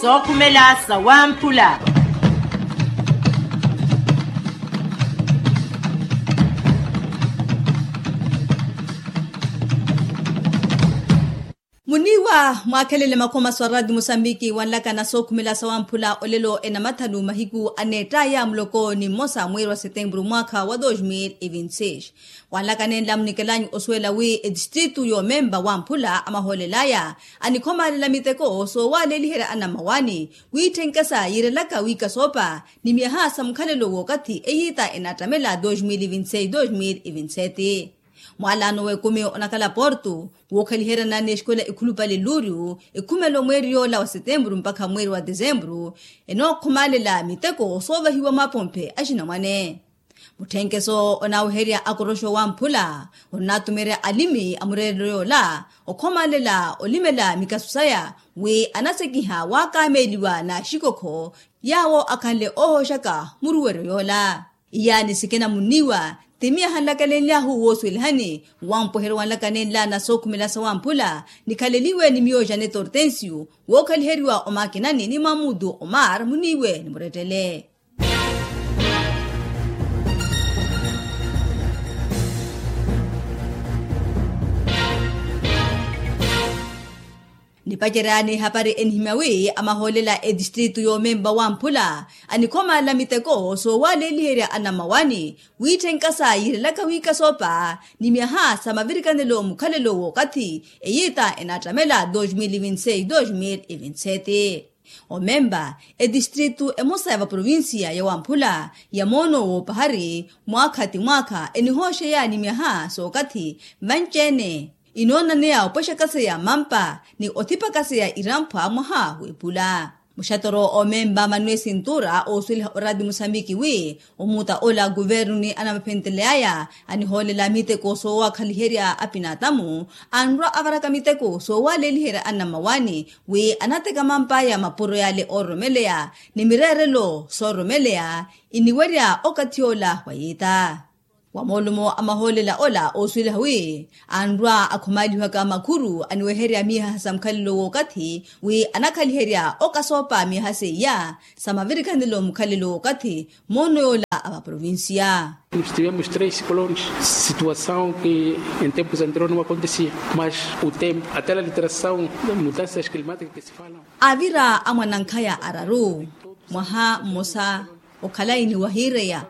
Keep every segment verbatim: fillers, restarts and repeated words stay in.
Sookhumela sawamphula. Muniiwa mwaakhelele makhomaso a rati musambiki wanlakana sookhumela sawamphula olelo enamathanu mahiku aneettaya muloko ni mmosa mweeri wa setempuru mwaakha wa dos mil e vinti seis. Wanlakanenla munikelanyu osuwela wi etistritu yoomempa wamphula amahoolelaya anikhomaalela miteko soowaleliherya anamawani wiitthenka sa yiirelaka wiikasoopa ni myaha sa mukhalelo wookathi eyiita enaattamela dos mil e vinti seis dos mil e vinti sete. Mwalaano w'ekumi onakhala porto wookhaliheryana n'exikola ekhulupale luuriu ekhumelo mweeri yoola wa setempuru mpakha mweeri wa tesempuru enookhomaalela miteko soovahiwa mwapomphe axinamwane. Mutthenkeso onaaweherya akoroxo wamphula onnatumerya alimi a mureerelo yoola okhomaalela olimela mikasu saya wi anasekiha waakameeliwa n'axikokho yaawo akhanle oohooxaka muruweryo yoola. Iyaani sikina muniiwa ti miyaha nlakalenlyahu woosuwelihani wampweheryo wanlakanenla na sookhumela sawamphula nikhaleliwe ni miyo janet hortensio wookhaliheriwa omakinani ni mamutu omar muniiwe ni murettele. Nipacerya n'ihapari enihimya wi amahoolela etistritu yoomempa wamphula anikhomaalela miteko soowaleliherya anamawani wiitthenka sa yiirelaka wiikasoopa ni myaha sa mavirikanelo mukhalelo wookathi eyiita enaattamela dos mil e vinti seis dos mil e vinti sete. Omempa etistritu emosa ya vaprovincia ya wamphula ya moono woopahari mwaakha ti mwaakha enihooxeya ni myaha sookathi vanci-ene inoonaneya opwexakaseya mampa ni othipakaseya iramphwa mwaha w'epula. Muxatoro omempa manuel sintura oosuweliha orati musambiki wi omuta ola kuvernu ni anamaphenteleyaya anihoolela miteko soowakhaliherya apinatamu anrwa avaraka miteko soowaleliherya anamawani wi anateka mampaya mapuro yale oororomeleya ni mireerelo soororomeleya iniwerya okathi ola wa yiita. Wa moolumo a mahoolela ola oosuweliha wi anrwa akhomaaliwaka makhuru aniweherya miihaha sa mukhalelo w'okathi wi anakhaliherya okasoopa miihaha seiya sa mavirikhanelo mukhalelo w'okathi moono yoola a vaprovincia. Nós tivemos três ciclones, situação que em tempos anteriores não acontecia, mas o tempo até a alteração das mudanças climáticas que se falam. Avira a mwanankhaya araru mwaha mmosa okhalayi ni wahiireya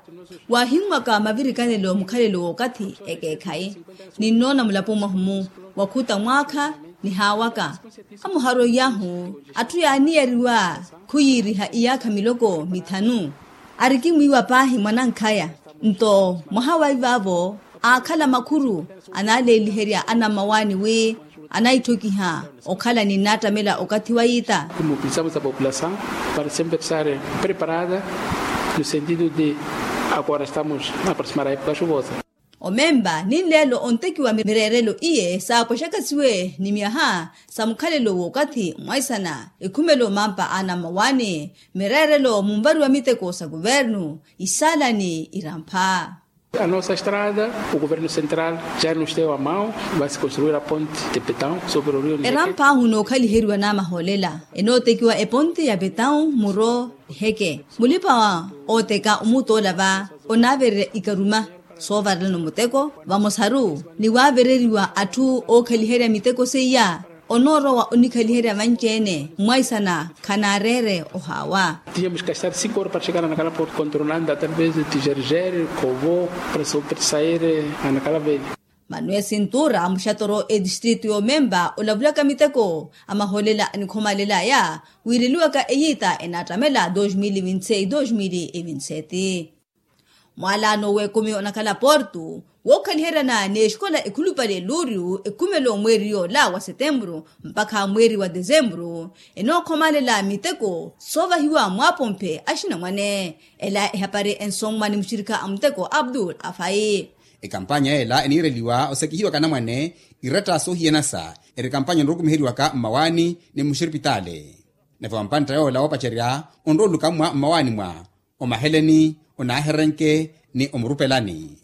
waahinwaka mavirikanelo mukhalelo w'okathi ekeekhayi. Ninnoona mulapo mwahumu wakhuta mwaakha nihaawaka amuharoiyahu atthu yaaniyariwa khuyiiriha iyaakha miloko mithanu. Arikimwiiwa paahi mwanankhaya nto mwaha wa ivaavo aakhala makhuru anaaleeliherya anammawaani wi anaitthokiha okhala ni nnaattamela okathi wa yiita. Mobilizamos a população para sempre estar preparada no sentido de agora estamos a aproximar a época chuvosa. Omempa ninleelo ontekiwa mireerelo iye saapwexakasiwe ni myaha sa mukhalelo w'okathi mwaisana ekhumelo mampa a anammawaani mireerelo munvariwa miteko sa kuvernu isaalani irampha. A nossa estrada o governo central já nos deu a mão, vai se construir a ponte de betão sobre o rio Niheke. Erampaahu nookhaliheriwa namahoolela enootekiwa eponte ya betão muro niheke mulipa ooteka omutola va onaavererya ikaruma soovarelana omuteko vamosaru ni waavereriwa atthu ookhaliherya miteko seiya onoorowa onikhaliherya vanci-ene mwaisana khanaareere ohaawa. Tínhamos que estar cinco horas para chegar a Nacala Porto, contornando através de Tijerjere, Kovo, para so-, para sair a Nacala Velha. Manuel sintura muxatoro etistritu y'omempa olavulaka miteko amahoolela anikhomaalelaya wiireliwaka eyiita enaattamela dos mil e vinti seis dos mil e vinti sete. Mwalaano w'ekumi onakhala porto wookhaliheryana n'exikola ekhulupale luuriyu ekhumelo mweeri yoola wa setempuru mpakha mweeri wa tesempuru enookhomalela miteko soovahiwa mwaapomphe axinamwane. Ela ehapari ensomwa ni muxirikha a muteko abdul afai. Ekampanya ela eniireliwa osekihiwaka anamwane iretta soohiyanasa eri kampanya onrukumiheriwaka mmawaani ni muxiripitaale. Nave wampantta yoola woopacerya onrooluka mmwa mmawaani mwa omaheleni onaaherenke ni omurupelani.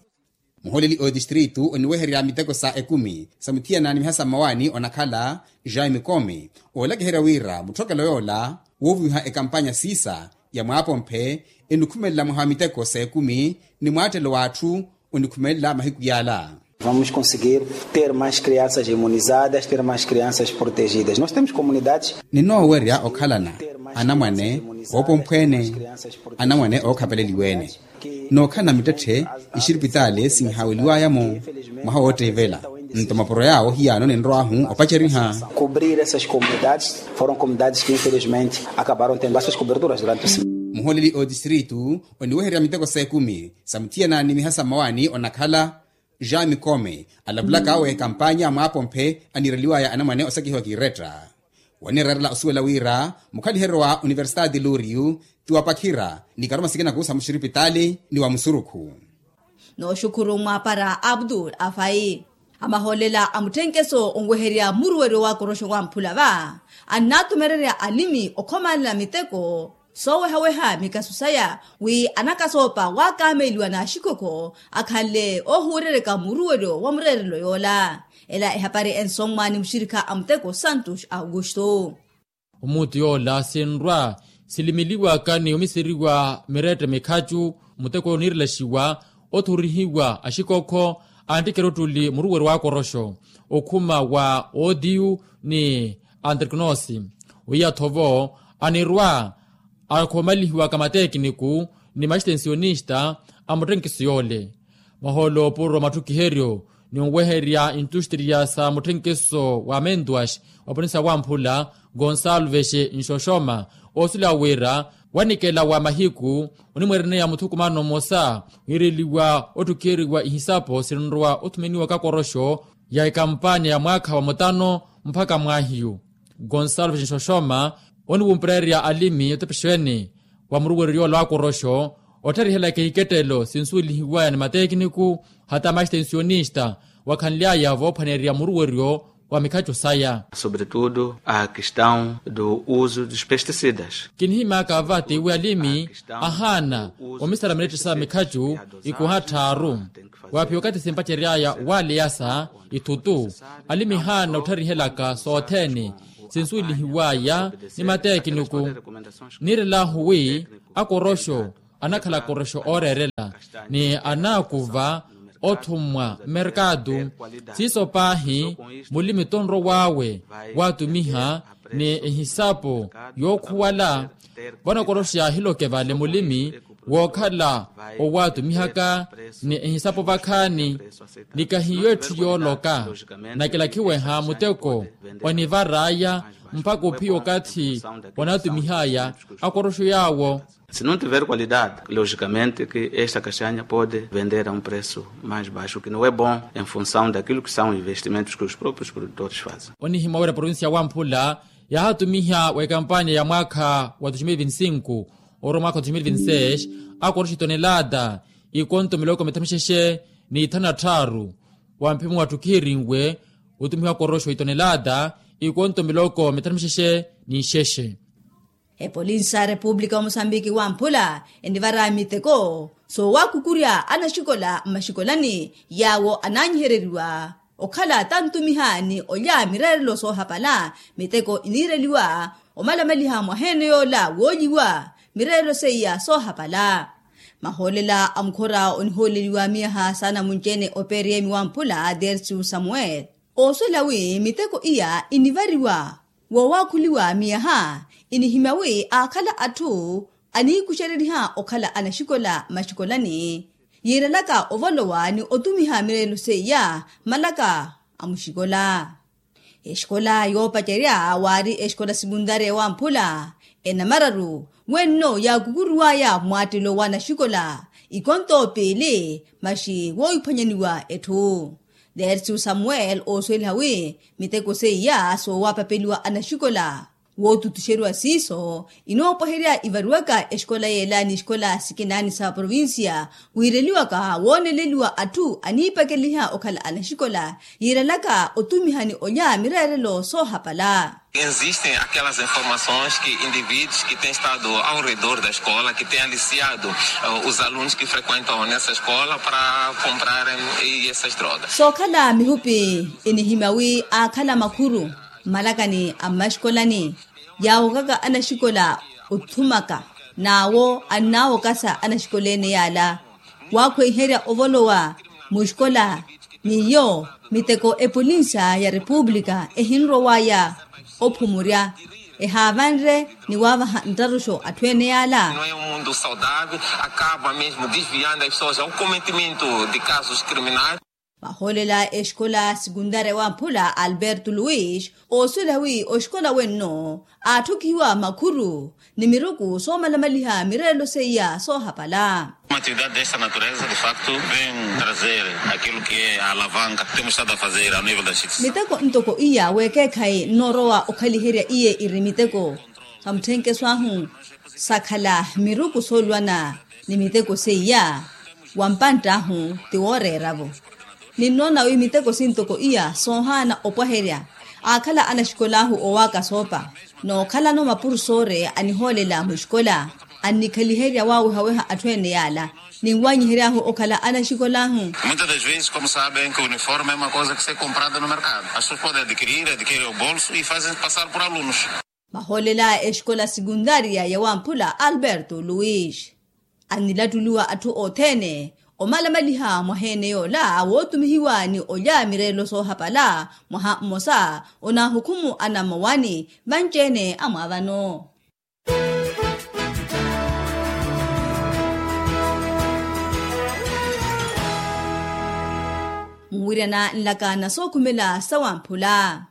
Muholeli otistritu oniweherya miteko sa ekumi sa muthiyana ni mihasa mmawaani onakhala jean mikomi oolakiherya wira mutthokelo yoola Wooviwiha ekampanya siisa ya mwaapomphe enikhumelela mwaha wa miteko s'ekumi ni mwaattelo w'atthu onikhumelela mahiku yaala. Vamos conseguir ter mais crianças imunizadas, ter mais crianças protegidas. Nós temos comunidades. Ninoowerya okhalana anamwane oopomphweene, anamwane ookhapeleliweene nookhalana mittetthe. Ixiripitaali sinhaaweliwaya-mo mwaha wootteivela. Nto mapuro yaawo hiyaano ninrw'ahu opaceriha. Cobrir essas comunidades, foram comunidades que infelizmente acabaram tendo essas coberturas durante o. Muhooleli otistritu oniweherya miteko s'ekumi sa muthiyana ni mihasa mmawaani onakhala, jean mikome alavulaka awe ekampanya a mwaapomphe aniireliwaya anamwane osakihiwa kiiretta. Wanireerela osuwela wira mukhaliheryo wa universitati luriyu ti wapakhira ni karuma sikinaku sa muxiripitaali ni wa musurukhu. Nooxukhuru mwaapara abdul afayi. Amahoolela a mutthenkeso onweherya muruweryo wa koroxo wa mphula va annaatumererya alimi okhomanela miteko soowehaweha mikasu saya wi anakasoopa waakameeliwa n'axikokho akhanle oohuureryaka muruweryo wa mureerelo yoola. Ela ehapari ensommwa ni muxirikha a muteko santos augusto. Omuutu yoola sinrwa silimiliwaka ni omiseriwa mirette mikhacu muteko oniirelaxiwa othurihiwa axikokho anttike eruttuli muruweryo wa koroxo okhuma wa otiyu ni antriknosi. Weiya-tho vo anirwa akhomalihiwaka mateekiniku ni maxitensionista a mutthenkiso yoole. Mahoolo oopuro matthukiheryo ni onweherya intustriya sa mutthenkiso wa mentuax wa provincia wamphula gonsalves nxoxoma oosila wira wanikela wa mahiku onimwereneya muthukumano mmosa wiireliwa otthukiheriwa ihisapo sinrowa othumeniwaka koroxo ya ekampanya ya mwaakha wa mutano mpakha mwaahiyu. Gonsalves nxoxoma oniwumpererya alimi otepexeene wa muruweryo yoola wa koroxo ottharihelaka ikettelo sinsuwelihiwaya ni mateekiniku hata maxitensionista wakhanly'aya voophwanerya muruweryo wa mikhacu saya. Sobretudo a questão do uso dos pesticidas. Kinihimyaka va tiwi alimi ahaana omisala mirette sa mikhacu ikuha tthaaru. Waaphiya okathi simpacery'aya waaleyasa ithutu alimi haana ottharihelaka sothene sinsuwelihiw'aya ni mateekiniku. Niirel'ahu wi akoroxo anakhala akoroxo ooreerela ni anaakuva othumwa mmerkatu. Siiso paahi mulimi tonrow'awe waatumiha ni ehisapo yookhuwala vano akoroxo yaahiloke vale mulimi wookhala owaatumihaka ni ehisapo vakhaani. Ni kahiyo etthu yooloka nakilakhiweha muteko onivar'aya mpakha ophiya okathi onaatumih'aya akoroxo yaawo. Se não tiver qualidade logicamente que esta castanha pode vender a um preço mais baixo que não é bom em função daquilo que são investimentos que os próprios produtores fazem. Onihimya wira provincia wamphula yaahatumiha wa ekampanya ya mwaakha wa dois mil vinte e cinco oro mwaakha wa dois mil vinte e seis akoroxo itonelata ikonto miloko mithanu mixexe ni ithanu na tthaaru. Wamphemu watthukiherinwe otumihiwa koroxo itonelata ikonto miloko mithanu mixexe ni ixexe. Epolinsi sa repupulika wa mosambiki wamphula enivara miteko soowakukurya anaxikola mmaxikolani yaawo anaanyihereriwa okhala tantumiha ni olya mireerelo soohapala. Miteko iniireliwa omalamaliha mwaheene yoola woolyiwa mireerelo seiya soohapala. Mahoolela a mukhora onihooleliwa miyaha saana munci-ene operiyemi wamphula dersiu samuel ooswela wi miteko iya inivariwa woowakhuliwa miyaha inihimya wi aakhala atthu aniikuxereriha okhala anaxikola maxikola ni yiirelaka ovolowa ni otumiha mireelo seiya malaka a muxikola. Exikola yoopacerya waari exikola sikuntarya ewamphula enamararu wenno yaakukuruwaya mwattelo wa naxikola ikonto piili maxi woohiphwanyaniwa etthu. Dersiu samuel oosuweliha wi miteko seiya soowapapeliwa anaxikola wootutuxeriwa siiso inoopweherya ivariwaka exikola yeela ni xikola sikinaani sa provincia wiireliwaka wooneleliwa atthu aniipakeliha okhala anaxikola yiirelaka otumihani olya mireerelo soohapala. Existem aquelas informações que indivíduos que têm estado ao redor da escola que têm aliciado os alunos que frequentam nessa escola para comprarem essas drogas. Sookhala mihupi inihimya wi aakhala makhuru mmalakani a mmaxikolani. Yaawokaka anaxikola othumaka n'awo annaawokasa anaxikola ene yaala waakhweiherya ovolowa muxikola. N'iyo miteko epolinsa ya repupulika ehinrowaya ophumurya ehaavanre ni waavaha nttaruxo atthu ene yaala. No é um mundo saudável, acaba mesmo desviando as pessoas ao cometimento de casos criminais. Vahoolela exikola sekundarya wamphula alberto luis osuwela wi oxikola wenno aatthukihiwa makhuru ni miruku soomalamaliha mireelo seiya soohapala. Uma atividade desta natureza de facto vem trazer aquilo que é a alavanca temos estado a fazer a nível da justiça. Miteko ntoko iya weekeekhayi nnoorowa okhaliherya iye iri miteko sa mutthenkeso ahu sakhala miruku sooluwana ni miteko seiya wa mpantt'ahu ti wooreera-vo. Ninnoona wi miteko sintoko iya soohaana opwaherya aakhala anaxikola ahu owaaka soopa n'okhalano mapurusoore anihoolela muxikola annikhaliherya waawehaweha atthu ene yaala ninwanyihery'ahu okhala anaxikola ahu. Muitas das vezes como sabem que o uniforme é uma coisa que se comprada no mercado as pessoas podem adquirir adquirem o bolso e fazem passar por alunos. Vahoolela exikola sekundarya ya wamphula alberto luis annilattuliwa atthu othene omalamaliha mwaha ene yoola wootumihiwa ni olya mireelo soohapala mwaha mmosa onaahukhumu anamowani vanci-ene amwaavano. Muwiryana nlaka na sookhumela sa wamphula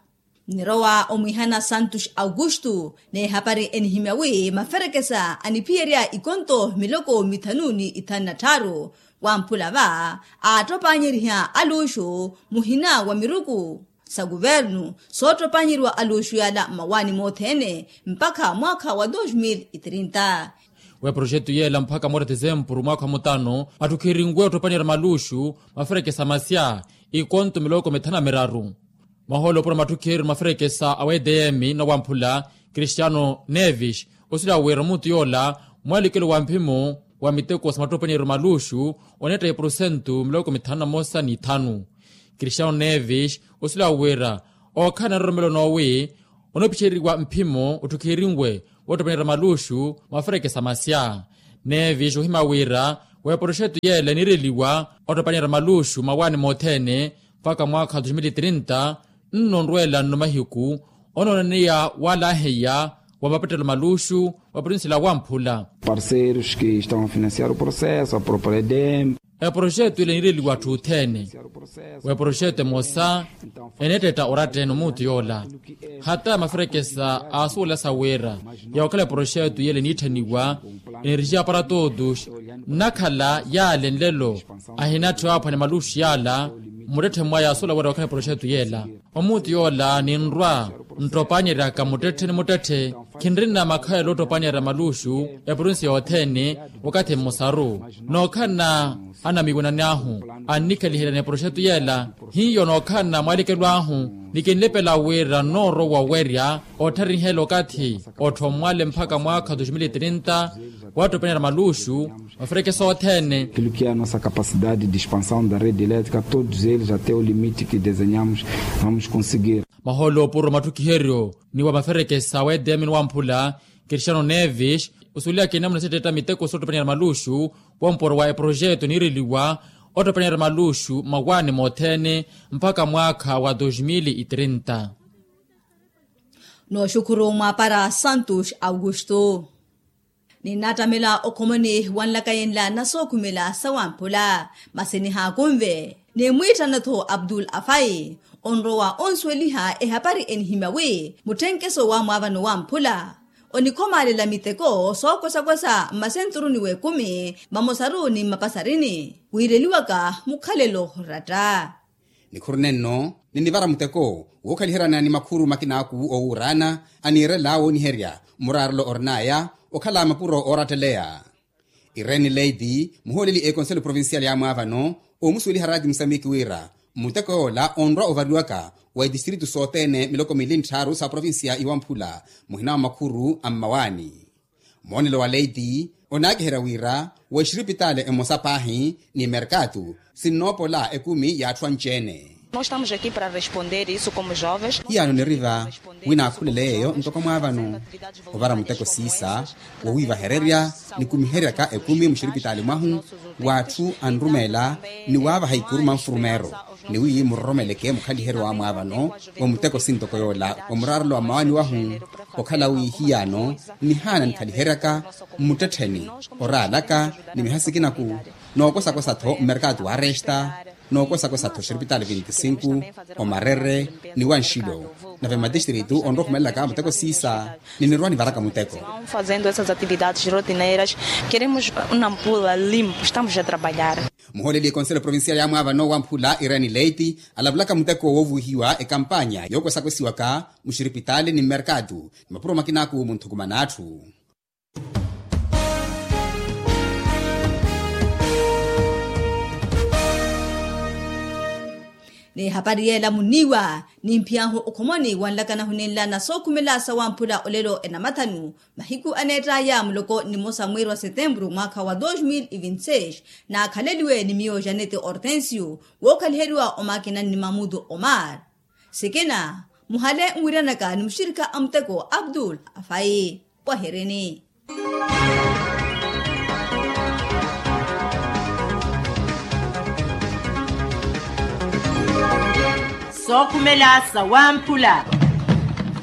nnirowa omwihana santos augusto n'ehapari enihimya wi maferekesa aniphiyerya ikonto miloko mithanu ni ithanu na tthaaru wamphula va aattopaanyeriha aluuxu muhina wa miruku sa kuvernu soottopanyeriwa aluuxu yaala mmawaani mothene mpakha mwaakha wa dos mil e trinta. Wa eproxetu yeela mpakha moora tisempuru mwaakha wa mutano atthukhirinwe ottopanyerya maluuxu maferekesa masya ikonto miloko mithanu na miraru. Mahoolo opura matthukhiheryo maferekesa a wtm na wamphula cristiano nevis osuwela wira omutu yoola mwalikelo wa mphimo wa miteko sa mattopanyeryeryo maluuxu oneetta eprosentu miloko mithanu na mosa n'ithanu. Cristiano nevis osuwela wira ookhala na nroromelo noowi onopichereriwa mphimo otthukherinwe woottopanyerya maluuxu maferekesa masya. Nevis ohima wira wa eproxetu yeela eniireliwa ottopanyerya maluuxu mawaani mothene mpakha mwaakha wa dos mil e trinta nno onrweela nno mahiku onooneneya waalaaheya wa mapettelo maluuxu wa provincia la wamphula. Parceiros que estão a financiar o processo a propriedade. Eproxetu ila eniireliwa atthu othene wa eproxetu emosa eneettetta oratta-ene omutu yoola hata maferekesa aasuwela sa wira yaakhala eproxetu yela eniitthaniwa energia para todos nnakhala yaale nlelo ahinatthiwa aphwane maluuxu yaala mmuttetthe mwaya aasuwela wira yaakhala eproxetu yela omutu yoola ninrwa nttopanyeryaka muttetthe ni muttetthe khinrina makhalelo ottopanyerya maluuxu eprovinsi yothene wakathi mmosaru nookhalana anamiiwanani ahu annikhaliheryani eproxetu yeela hiyo nookhalana mwaalikelo ahu ni kinlepela wira nnoorowa owerya ottharihela okathi otthomwale mpakha mwaakha wa dos mil e trinta waattopanyeryani maluuxu maferekesa othene. Aquilo que é a nossa capacidade de expansão da rede elétrica todos eles até o limite que desenhamos vamos conseguir. Mahoolo opuro matthukiheryo ni wa maferekesa wa edm ni wamphula cristiano nevis osuwelihaka enamuna setteetta miteko soottopanyerya maluuxu wompuro wa eproxetu eniireliwa ottopanyerya maluuxu mmawaani mothene mpakha mwaakha wa dos mil e trinta. Nooxukhuru mwaapara santos augusto. Ninnattamela okhomoni wa nlakayi nla na sookhumela sa wamphula masi nihaakunve nimwiittana-tho abdul afayi onrowa onsuweliha ehapari enihimya wi mutthenkeso wa mwaavano wamphula onikhomalela miteko sookosakosa mmasenturuni w'ekumi mmamosaru ni mmapasarini wiireliwaka mukhalelo oratta. Nikhuru nenno ninivara muteko wookhaliheryana ni makhuru makinaku owuuraana aniirela wooniherya muraarelo orin'aya okhala mapuro ooratteleya. Irene leiti muhooleli ekonselo provincial ya mwaavano omusuweliha raati musamiki wira muteko yoola onrwa ovariwaka wa itistritu sothene miloko mili ntthaaru sa provincia iwamphula muhina wa makhuru a mmawaani. Moonelo wa leiti onaakiherya wira wa exiripitaale emosa paahi ni merkatu sinnoopola ekumi y'atthu anci-ene. Nós estamos aqui para responder isso como jovens. Hiyano niriva wi naakhulele yeeyo ntoko mwaavano ovara muteko siisa wowiivahererya nikumiheryaka ekumi muxiripitaali mwahu w'atthu anrumeela ni waavaha ikuru manfurumeero ni wi muroromeleke mukhaliheryo wa mwaavano wa muteko sintoko yoola wa muraarelo wa mmawaani wahu okhala wi hiyano nihaana nikhaliheryaka mmuttettheni oraalaka ni miha sikinaku nookosakosa-tho mmerkaatu wa resta nookosakosa-tho xiripitaali vinti sinku omarere ni wanxilo nave mmatistiritu onrohumelelaka muteko siisa ni nirwa nivaraka muteko. Fazendo essas atividades rotineiras queremos nampula limpo estamos a trabalhar. Muhooleli ekonselo provincial ya mwaavano wa mphula irene leiti alavulaka muteko woovuhiwa ekampanya yookosakosiwaka muxiripitaali ni mmerkaatu ni mapuro makinaaku munthukumana atthu. N'ehapari yeela muniiwa nimphiyahu okhomoni wanlakana huninla na sookhumela sawamphula olelo enamathanu mahiku aneett'aya muloko nimosa mwiiri wa setempuru mwaakha wa dos mil e vinti seis naakhaleliwe ni miyo janete hortensio wookhaliheriwa omakinani ni mamutu omar. Sikina muhale nwiiranaka ni muxirikha a muteko abdul afayi. Pwahirini sookhumela sawamphula.